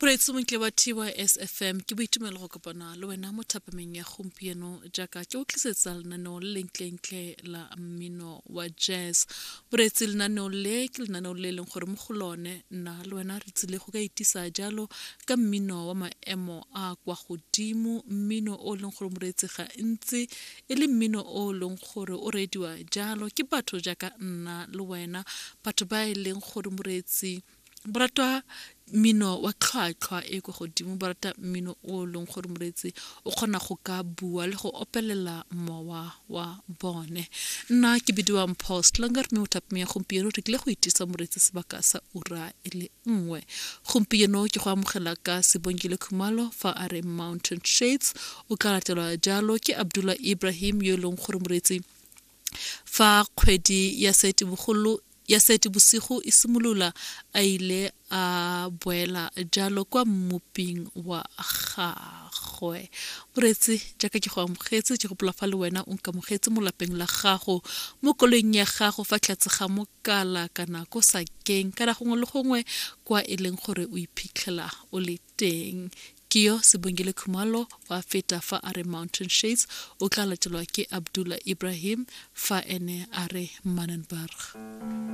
Moreetsi montle wa TYSFM, ke boitumelo go kopana le wena mo thapameng ya gompieno jaaka ke o tlisetsa lenaneo le lentlentle la mmino wa jazz. Moreetsi, lenaneo le ke lenaneo le e leng gore mo go lone nna le wena re tsile go ka itisa jalo ka mmino wa maemo a kwa godimo, mmino o e leng gore moreetsi ga ntsi e le mmino o e leng gore o reediwa jalo ke batho jaaka nna le wena, batho ba e leng gore moreetsi ba rata mmino wa tlhwatlhwa e kwa godimo, ba rata mmino o e leng gore moreetsi o kgona go ka bua le go opelela mowa wa bone. Nna ke bidiwa Mpho Slanger mme mo thapameng ya gompieno re tlile go itisa moreetsi sebaka sa ura e le nngwe. Gompieno ke go amogela ka Sibongile Khumalo fa a re Mountain Shades, o tla latelwa jalo ke Abdullah Ibrahim yo e leng gore moreetsi fa kgwedi ya Seetebogolo ya Seetebosigo e simolola a ile a boela jalo kwa mmoping wa gagwe. Moreetsi, jaaka ke go amogetse, ke gopola fa le wena o nkamogetse mo lapeng la gago, mo koloing ya gago, fa tlhatse ga mokala kana ko sakeng kana gongwe le gongwe kwa e leng gore o iphitlhela o le teng. Ke yo Sibongile Khumalo wa feta fa a re Mountain Shades, o tla latelwa ke Abdullah Ibrahim fa ene a re Manenberg.